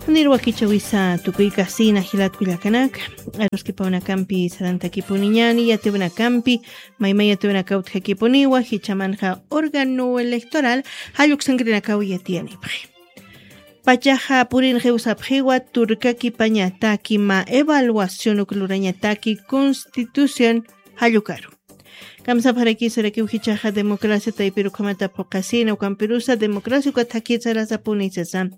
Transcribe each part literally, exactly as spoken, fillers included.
Nirwakichawisa tukuykasina jilatkullakanaka, aruskipawnakampi sarantakipuniñani yatiwnakampi, maymay yatiwnakawtjakipuniwa jichamanqa órgano electoral jalluksankirinakaw yatiyanipxi. Pachaxa purinxiw sapxiwa turkakipañataki ma evaluación uklurañataki constitución jallukaru. Kamsapxaraki sarakiw jichaxa democracia taypirukhamata phuqasina ukampirusa democracia uka thakitsarasapuni sasa.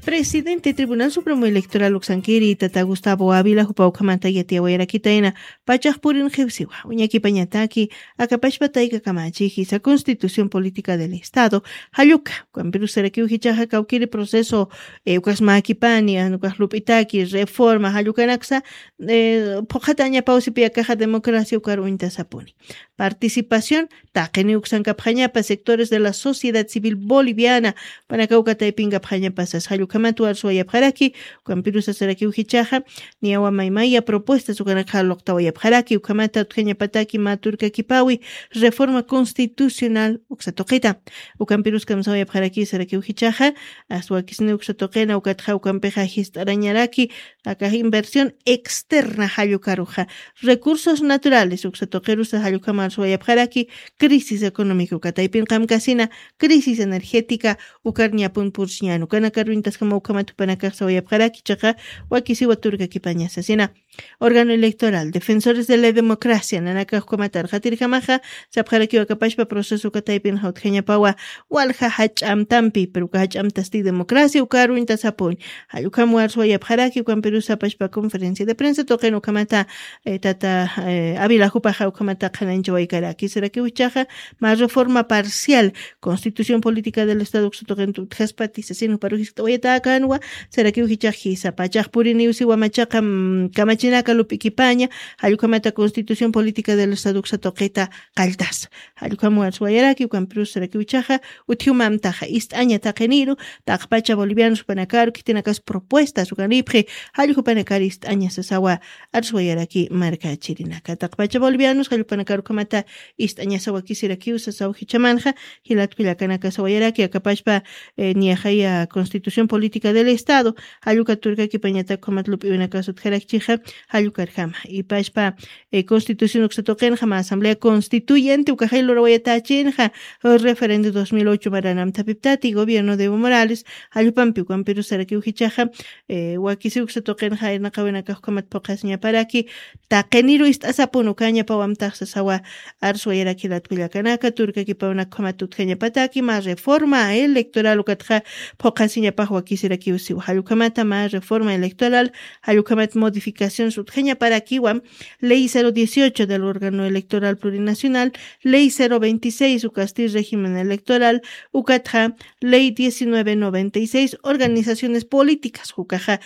Presidente tribunal supremo electoral uksankiri tata gustavo avila jupa ukhamata yatiyawayarakitayna pachax purinxiwsiwa uñakipañataki akapashpatayka kamachi jisa constitución política del estado jalluka. Ukampirusarakiw jichaxa kawkiri proceso ukasmakipani anukax lup'itaki reforma jallukanaksa. Phuqhatañapaw sipiyakaxa democracia ukar uñtasapuni. Participación taqini uksankapxañapa sectores de la sociedad civil boliviana panaka uka taypinkapxañapa sas jallukhamat warsuwayapxaraki. Ukampirusa sarakiw jichaxa niyawa maymaya propuestas ukanakxa luqtawayapxaraki ukhamata utjañapataki mä turkakipawi reforma constitucional uksa tuqita. Ukampirus kamsawayapxaraki sarakiw jichaxa aswakisni uksa tuqina ukatxa ukampixa jist'arañaraki akax inversión externa jallukaruxa recursos naturales uksa tuqirusa jallukhamar suwayapxaraki. Crisis económica uka taypin qamkasina crisis energética ukar ñapun pursiñan ukanakar uñtaskama ukhamat jupanakax sawayapxaraki chaqa wakisiwa turkakipañasasina. Órgano electoral defensores de la democracia nanakax ukhamat arqatirjamaxa sapxarakiw akapashpa proceso uka taypin jawtjañapawa walja jach'amtampi pero uka jach'amtasti democracia ukar uñtasapun. Jallukhamwar suwayapxaraki ukampirusa apashpa conferencia de prensa tuqin ukhamata tata avilajupaxa ukhamata qhananchawaykaraki sarakiw jichaxa mä reforma parcial constitución política del estado uksa tuqinta utjaspati sasin juparu jiskt'awayatäkänwa. Sarakiw jichax jisa pachax puriniw siwa machaqa kamachinaka lup'ikipaña jallukhamata constitución política del estado uksa tuqita qalltasa. Jallukhamwar suwayaraki ukampirus sarakiw jichaxa utjiw mamtaxa ist'aña taqiniru taqpacha bolivianos jupanakaru khitinakas propuestas ukanipxi. Jallukhupanakar ist'aña sasawa arsuwayaraki markachirinaka taqpacha bolivianos jallukhupanakar ukhamata ist'añasawa kisirakiw sasaw jichamanxa. Jilatkullakanaka sawayaraki akapashpa niyaxaya constitución política del estado jalluka turkakipañatak ukhamat lup'iwinakas utjarakchixa jallukarjama ipashpa constitución uksa tuqinxa mä asamblea constituyente ukaxay lurawayatachinxa referende dos mil ocho maranamtapiptati gobierno de evo morales jallupampi ukampirusarakiw jichaxa wakisiw uksa tuqinxa irnaqawinakax ukhamat phuqasiñaparaki. Taqiniru ist'asapun ukañapawamtax sasawa arsuwayaraki jilatkullakanaka turkakipawnakhamat utjañapataki mä reforma electoral ukatxa phuqasiñapax wakisirakiw siwa jallukhamata mä reforma electoral jallukhamat modificaciones utjañaparakiwa. Ley cero dieciocho del órgano electoral plurinacional, ley cero veintiséis ukasti régimen electoral ukatxa ley diecinueve noventa y seis organizaciones políticas jukaxa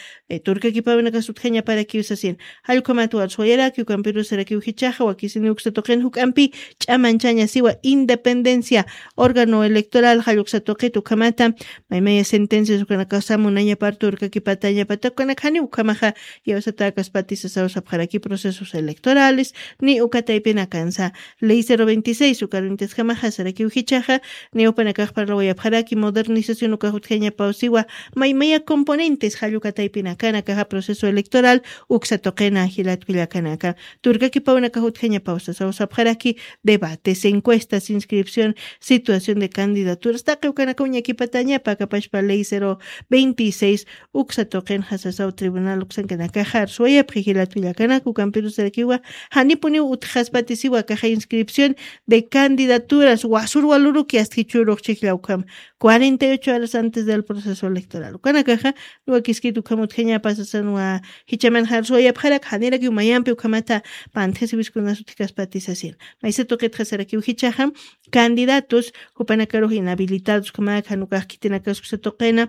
turkakipawinakas utjañaparakiw sasin. Jallukhamat warsuwayaraki ukampirusarakiw jichaxa wakisini uksa tuqin juk'ampi ch'amanchaña siwa independencia órgano electoral jalluksa tuqit ukhamata maymaya sentencias ukanakasa munañapar turkakipatañapata ukanakjani ukhamaxa yawsatakaspati sasaw sapxaraki procesos electorales ni uka taypinakansa. Ley cero veintiséis ukaruntiskamaxa sarakiw jichaxa ni upanakax parlawayapxaraki modernización ukax utjañapaw siwa maymaya componentes jalluka taypinakanakaxa proceso electoral uksa tuqina jilatkullakanaka turkakipawnakax utjañapaw sasaw sapxaraki debates encuestas inscripción situación de candidaturas taqi ukanaka uñakipatañapa akapashpa ley cero veintiséis uksa tuqinxa sasaw tribunal uksankanakaxa arsuwayapxi jilatkullakanaka ukampirusarakiwa janipuniw utjaspatisiwa akaxa inscripción de candidaturas wasurwaluruki astjichurux chijlla ukhama cuarenta y ocho horas antes del proceso electoral ukanakaxa wakiskit ukhama utjañapa sasanwa jichamanxa arsuwayapxarak janirakiw mayampi ukhamata pantjasiwiskunas utjkaspati sasin. Maysa tuqitxa sarakiw jichaxa candidatos jupanakarux inhabilitados ukhamak jan ukax khitinakas uksa tuqina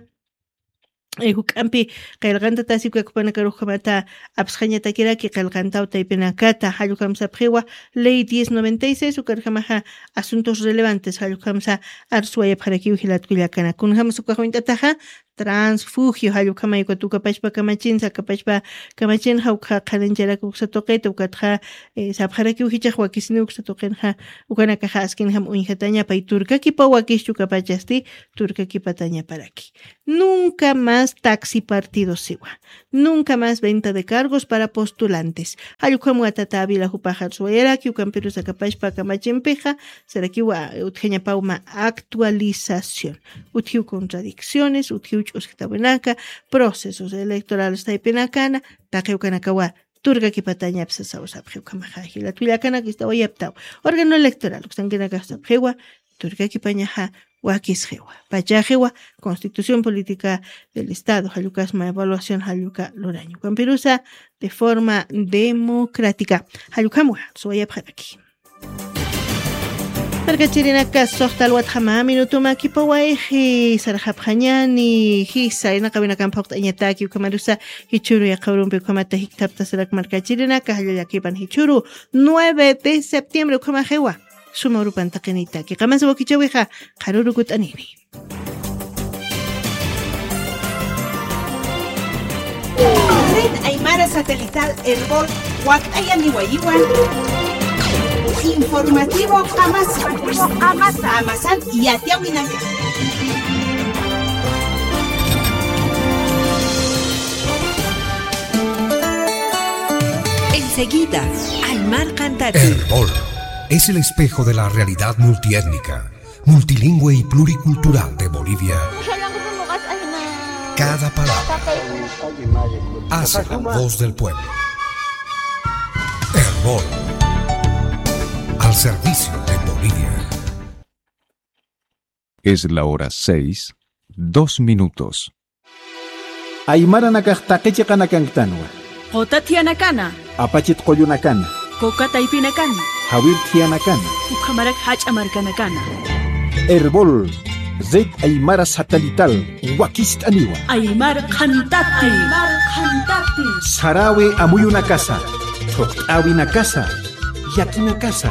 juk'ampi qillqantatasi uka jupanakarux ukhamata apsxañatakiraki qillqantaw taypinakata jallukhamsapxiwa ley diez noventa y seis ukarjamaxa asuntos relevantes jallukhamsa arsuwayapxarakiw jilatkullakana kunjamsa ukax uñt'ataxa transfugio, jall ukhamayku ukat ukapachpa kamachinsa, akapachpa kamachinxa ukxa qhanañcharak uksa tuqita, ukatxa, eh, sapxarakiw jichhax wakisiniw uksa tuqinxa, ukanakaxa askinjam uñjataña, pay turkakipaw wakischu ukapachasti, turkakipatañaparaki. Nunca más taxi partido siwa. Nunca más venta de cargos para postulantes. Jall ukhamwa tata Ávila jupax arsuwayaraki, ukampirus akapachpa kamachimpixa, sarakiwa utjañapaw mä actualización. Utjiw contradicciones, utjiw ch'usktawinaka, procesos electorales taypinakana, taqi ukanakawa turkakipatañapsa sasaw sapxi ukhamaxa jilat willakanaka ist'awayapxtaw. Órgano electoral, uksankinakax sapxiwa, turkakipañaxa wakisxiwa. Pachaxiwa, Constitución Política del Estado, jall ukasma evaluación jall uka luraña. Ukampirusa, de forma democrática. Jall ukhamwa, suwayapxaraki. Markachirinaka, suxta alwatxa mä minuto makipawayxi, sarxapxañani, jisa, inaqawinakamp phuqt'añataki, ukhamarusa, jichhüru yaqha urumpi ukhamata jikthaptasarak markachirinaka, jalla llakipan jichhüru, nueve de septiembre, ukhamaxiwa. Suma urupan taqinitaki. Qamasa wakichäwixa, qharürukut'anini. Red Aymara Satelital Erbol wakt'ayaniwayiwa. Informativo Qamasa. Qamasan yatiyäwinaka. Enseguida, Aymar Qhantati. Erbol es el espejo de la realidad multiétnica, multilingüe y pluricultural de Bolivia. Cada palabra hace la voz del pueblo. Erbol, al servicio de Bolivia. Es la hora seis, dos minutos. Aymaranakax taqi chiqanakanktanwa. Quta thiyanakana. Apachit qullunakana. Kuka taypinakana. Jawir thiyanakana. Ukhamarak jach'a markanakana. Erbol, Red Aymara Satelital, wakist'aniwa. Aymar Qhantati. Aymar Qhantati. Saräwi amuyunakasa, thuqt'äwinakasa, llakinakasa,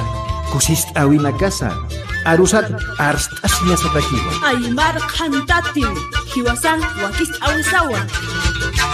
kusist'äwinakasa, arusat arst'asiñasatakiwa. Aymar Qhantati, jiwasan wakist'äwisawa.